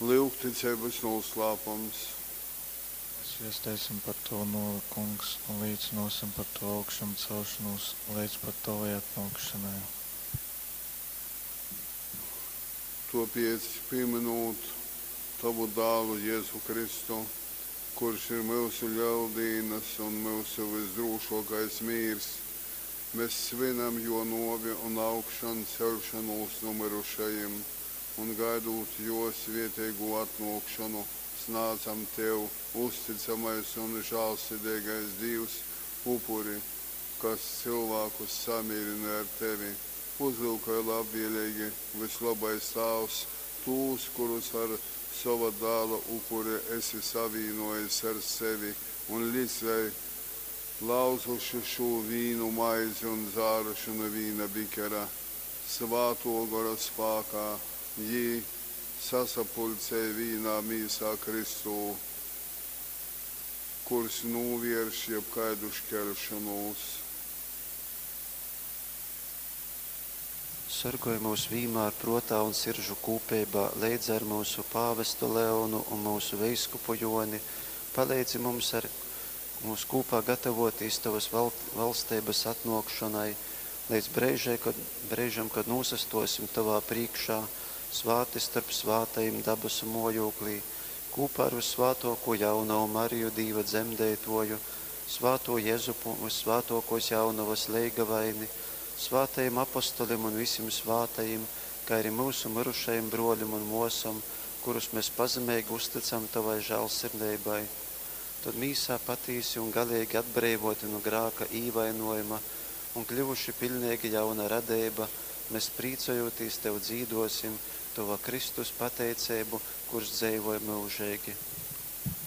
Lyugticeibas nūslāpums. Mēs viesteisim par Tovu nōvi, Kungs, un līcynōsim par Tovu augšamcelšonūs leidz pat Tovai atnōkšonai. Tōpēc, pīmynūt Tovu Dālu Jezu Kristu, kurš ir myusu Leldīnas un myusu vysdrūšōkais mīrs, mes svynam Jō nōvi un augšanceļšonūs nu myrušajim, un gaidūt Jō svēteigū atnōkšonu, snādzam Tev, uztycamais un žālsideigais Dīvs, upuri, kas cylvākus samīrynoj ar Tevi. Uzlyukoj labvēleigi, vyslobais Tāvs, tūs, kurus ar sova Dāla upuri esi savīnōjis ar sevi un lic, lai, lauzuši šū vīnu maizi un dzāruši nu vīna bikera, Svātō Gora spākā jī sasapuļcej vīnā mīsā Kristū, kurs nūvērš jebkaidu škeļšonūs. Sorgoj myus vīmār prōtā un siržu kūpeibā leidza ar myusu pāvestu Leonu un myusu veiskupu Jōni, paleidzi mums ar mums kūpā gatavotīs Tovas valsteibas atnōkšonai, leidz breižai, kod, breižam, kad nūsastōsim Tovā prīškā, svāti storp svātajim dabasu mōjūklī, kūpā ar vyssvātōkū jaunovu Mariju Dīva dzemdeitōju, svātū Jezupu, vyssvātōkōs jaunovas leigavaini, svātajim apostolim un visim svātajim, kai arī myusu myrušajim brōlim un mōsom, kurus mēs pazemeigi uztycam Tovai žālsirdeibai. Tod mīsā patīsi un galeigi atbreivōti nu grāka īvainōjuma un kļuvuši piļneigi jauna radeiba, mēs prīcojūtīs Tev dzīdōsim Tova Kristus pateiceibu, kurs dzeivoj myužeigi.